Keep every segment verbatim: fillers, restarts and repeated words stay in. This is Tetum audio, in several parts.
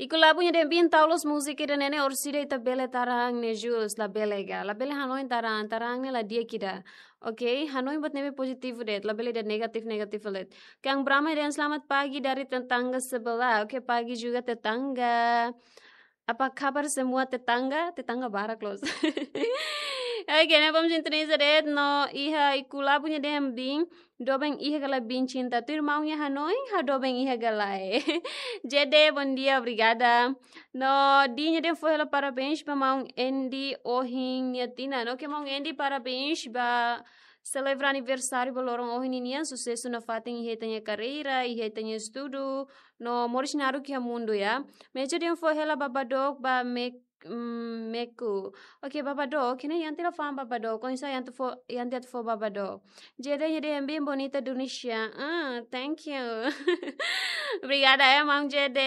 Iku Labu nia dehan: "Biin, tau loos múzika ida-ne'e ne'e, orsida ita bele tarang ne'e jus, labele ka? Labele hanoin tarang, tarang ne'e la di'ak ida. Ok? Hanoin buat ne'ebé pozitivu de'it, labele ida negatif, negatif de'it." Kang Brahma dehan: "Selamat pagi dari tetangga sebelah." Oke, pagi juga tetangga. Apa kabar semua tetangga? Tetangga barak loos. Oke, ne'e bom sintoniza de'it no iha Iku Labu nia dehan: "Biin, doben iha ka lae, biin cinta? Tuir maun nia hanoin, ha'u doben iha ka lae." J D, bom dia, obrigada. No Di nia dehan: "Fó hela parabéns ba maun Andy ohin nia tinan." Oke, maun Andy, parabéns ba selebra aniversáriu ba loron ohin ninian, susesu nafatin iha ita-nia karreira, iha ita-nia estudu, no moris naruk iha mundu, ya. Mejo dehan: "Fó hela Baba Doc ba Mek-, mm, Meku." Oke, Baba Doc, kene Yanti la fa'an Baba Doc, oinsá Yanti fó, Yanti atu fó Baba Doc. J D nia dehan: "Biin bonita Indonesia." Ah, thank you. Obrigada, ya, maun J D.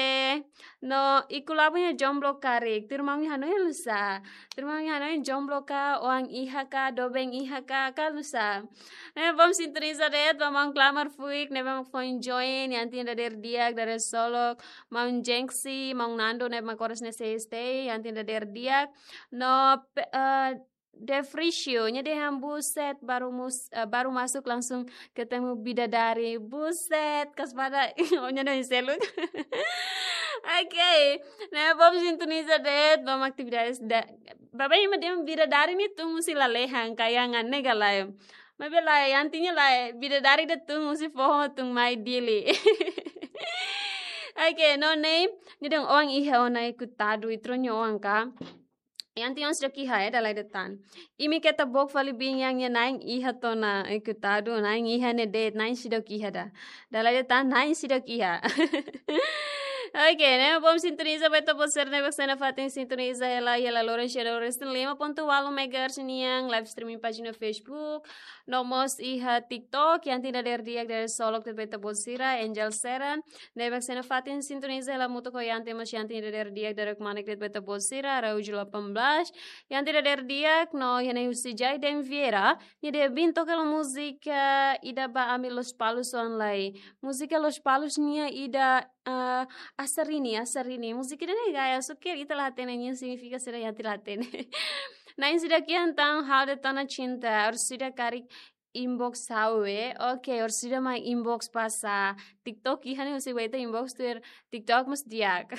No Iku Labu nia jomblo karik. Tuir maun nia hanoin, halo nusá? Tuir maun nia hanoin, jomblo ka, oan iha ka, doben iha ka, halo nusá? Ne'e bom sintoniza de'it ba maun Klamar Fuik, ne'ebé mak foin join, Yanti nia dadeer di'ak, dadeer solok, maun Jenksi, maun Nando, ne'ebé mak oras ne'e sei stay, Yanti nia dadeer di'ak. No pe-, eh, Defrisio nia dehan: "Buset, baru mus-, eh, baru masuk langsung ketemu bidadari." Buset, kaspada, o nia dehan seluk. Oke, ne'e bom sintoniza de'it, bom atividades da-, baba ema dehan bidadari ne'e tun husi lalehan, kayangan, ne'e ka lae? Maibé lae, Yanti nia lae, bidadari ida tun husi foho tun mai Dili. Oke, no ne'e, nia dehan: "Oan iha ona, Iku Tadu, ita rua nia oan ka?" Yanti oan seidauk iha, eh, dala ida tan. Imi keta book fali biin, Yan nia na'in iha tiha ona, Iku Tadu, na'in iha ne'e de'it, na'in seidauk iha ida. Dala ida tan, na'in seidauk iha. Oke, ne'e bom sintoniza ba ita-boot sira ne'ebé mak sei nafatin sintoniza hela, hela loron sira, loron resin lima pontu ualu megahertz nian, live streaming pájina Facebook, no mós iha TikTok, Yanti nia dadeer di'ak, dadeer solok de'it ba ita-boot sira, Angel Seran, ne'ebé mak sei nafatin sintoniza hela hamutuk ho Yanti, mós Yanti nia dadeer di'ak, dadeer kmanek de'it ba ita-boot sira, Araújo delapan belas, Yanti nia dadeer di'ak, no iha ne'e husi Jaiden Vieira, nia dehan: "Biin, toka hela múzika ida ba ami Lospalos oan lai." Múzika Lospalos nian ida, ah, Asarini, Asarini. Múzika ida-ne'e gaya, só ke ita la hatene nia signifika saida, Yanti la hatene. Na'in seidauk iha, entaun ha'u de'it ona cinta, orsida karik inbox ha'u, eh. Oke, orsida mai inbox pasa. TikTok iha ne'e, husi ba ita inbox tuir TikTok mós di'ak.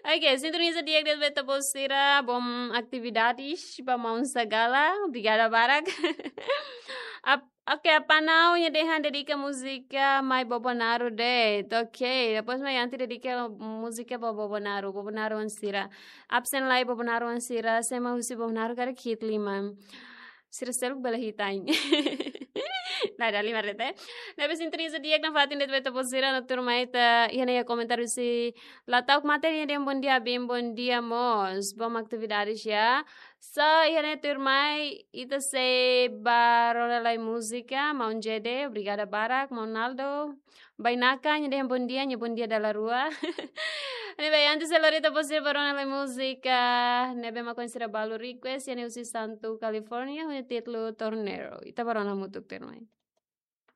Oke, sintoniza di'ak de'it ba ita-boot sira, bom atividades ba maun Sagala, obrigada barak. Ap-, oke, Apa Nau nia dehan dedika múzika mai Bobonaru de'it. Oke, depois mai Yanti dedika múzika ba Bobonaru, Bobonaru oan sira. Absen lai Bobonaru oan sira, sé mak husi Bobonaru karik hit liman. Sira seluk bele hit ain. Nah, dala lima rete. Ne'ebé sintoniza di'ak nafatin de'it ba ita-boot sira, no tuirmai ita iha ne'e iha komentáriu husi Latau Kmate nia dehan: "Bom dia, biin, bom dia mós. Bom atividades, ya." So, iha ne'e tuirmai ita sei ba rona lai múzika, maun J D, obrigada barak, maun Naldo. Bainaka nia dehan: "Bom dia, nia bom dia dala rua." Ne'ebé, antes de lori ita-boot sira ba rona lai múzika ne'ebé mak oan sira balu request, iha ne'e husi Santu, California, ho nia títulu Tornero. Ita ba rona hamutuk tuirmai.